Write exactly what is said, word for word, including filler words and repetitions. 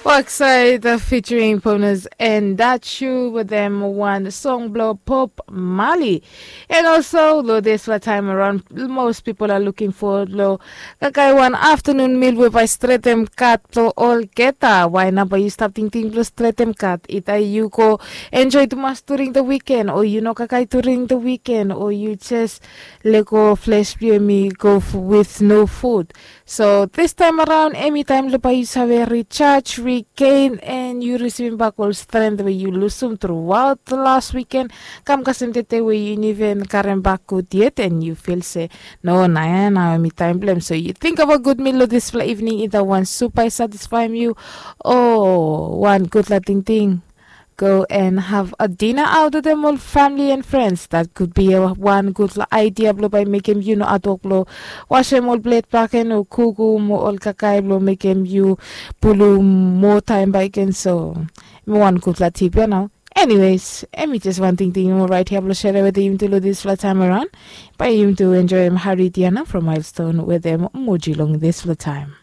Bakside featuring Ponas and Dachu with them one song blow Pop Mali. And also lo dispela taim around, most people are looking forward lo kakai wan afternoon meal we bai stretem kat lo olgeta. Why naba you stop thinking lo stretem kat? Ita you go enjoy tumas during the weekend, or you no kakai during the weekend, or you just lego flesh blue me go with no food. So this time around, anytime lo bai you save recharge, regain, and you receiving back all strength where you lose them throughout the last weekend. Kam kasem tete where you even karem back good yet, and you feel say, no, naya, now me time blame. So you think about good meal this evening, either one super satisfy you, or one good la ting ting. Go and have a dinner out with them all family and friends. That could be a one good idea blo by make him you know at work blo wash him all blade back and or kuku mo all kakai blo make him you pulu more time by again. So me one good la tip you know. Anyways, emi just one thing thing more right here blo share with him to this flat time around. By him to enjoy him Harry Diana from Milestone with them moji long this flat time.